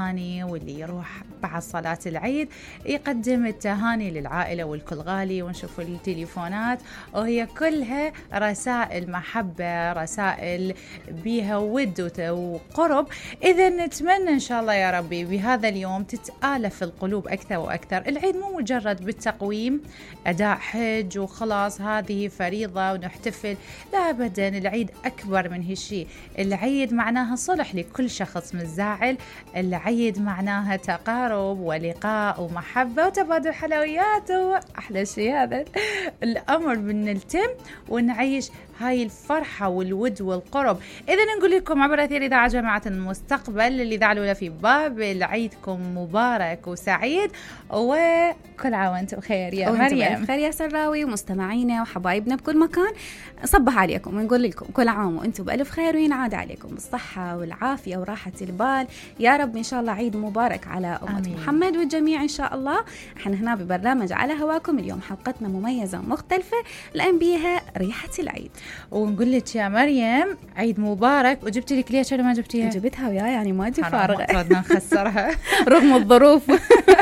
التهاني، واللي يروح بعد صلاة العيد يقدم التهاني للعائلة والكل غالي، ونشوف التليفونات وهي كلها رسائل محبة، رسائل بيها ود وقرب. إذا نتمنى إن شاء الله يا ربي بهذا اليوم تتآلف القلوب أكثر وأكثر. العيد مو مجرد بالتقويم أداء حج وخلاص هذه فريضة ونحتفل، لا أبدا، العيد أكبر من هالشي. العيد معناها صلح لكل شخص متزاعل، العيد معناها تقارب ولقاء ومحبة وتبادل حلويات، وأحلى شيء هذا الأمر بنلتم ونعيش هاي الفرحة والود والقرب. إذا نقول لكم عبر أثير إذاعة جامعة المستقبل الإذاعة الأولى في بابل، عيدكم مبارك وسعيد وكل عام وأنتم بخير يا مريم. بخير يا سراوي ومستمعينا وحبايبنا بكل مكان. صبح عليكم ونقول لكم كل عام وأنتم بألف خير، وينعاد عليكم بالصحة والعافية وراحة البال يا رب. إن شاء الله عيد مبارك على أمة محمد والجميع إن شاء الله. احنا هنا ببرنامج على هواكم اليوم حلقتنا مميزة ومختلفة لأن بيها ريحة العيد. ونقول لك يا مريم عيد مبارك. وجبتي لك ليش ولا ما جبتيها؟ جبتها وياي يعني ما أجي فارغة، ردنا نخسرها رغم الظروف.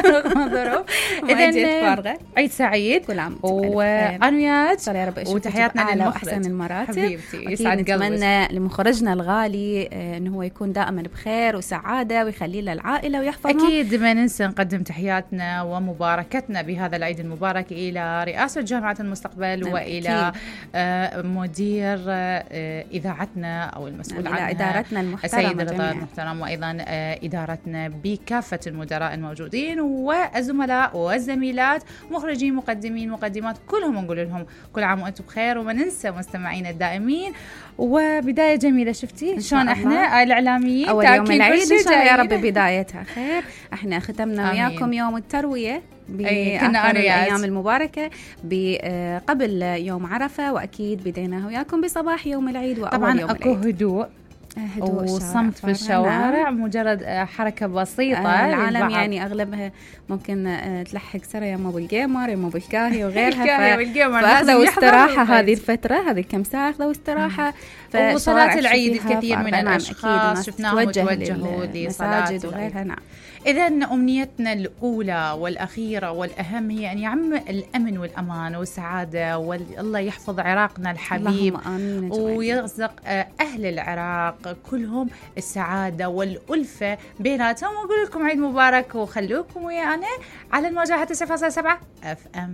رغم الظروف. إذن عيد سعيد كل عام وعنويات يا رب. وتحياتنا للمخرج أحسن المراتب حبيبتي، يسعد قلبك. نتمنى لمخرجنا الغالي إنه هو يكون دائما بخير وسعادة ويخلي له العائلة ويحفظهم. أكيد ما ننسى نقدم تحياتنا ومباركتنا بهذا العيد المبارك إلى رئاسة جامعة المستقبل وإلى مدير إذاعتنا أو المسؤول عنها إدارتنا المحترمة السيد رضا المحترم، وأيضا إدارتنا بكافة المدراء الموجودين والزملاء والزميلات، مخرجين، مقدمين، مقدمات، كلهم نقول لهم كل عام وأنتم بخير. وما ننسى مستمعين الدائمين. وبداية جميلة، شفتي شلون احنا الإعلاميين أول يوم العيد إن شاء الله يا رب بدايتها خير. احنا ختمنا وياكم يوم التروية بآخر الأيام المباركة قبل يوم عرفة، وأكيد بديناه وياكم بصباح يوم العيد وأول طبعا يوم أكو هدوء وصمت في الشوارع، مجرد حركة بسيطة. العالم يعني أغلبها ممكن تلحق سرى يا مو بالجيمر يا مو بالكاهي وغيرها، فأخذوا استراحة هذه الفترة، هذه كم ساعة أخذوا استراحة. وصلاة العيد الكثير من الأشخاص شفناهم توجهوا لصلاة وغيرها. نعم. إذا أمنيتنا الأولى والأخيرة والأهم هي أن يعم الأمن والأمان والسعادة، والله يحفظ عراقنا الحبيب ويرزق أهل العراق كلهم السعادة والألفة بيناتهم. وأقول لكم عيد مبارك، وخلوكم ويانا على الموجة 9.7 FM.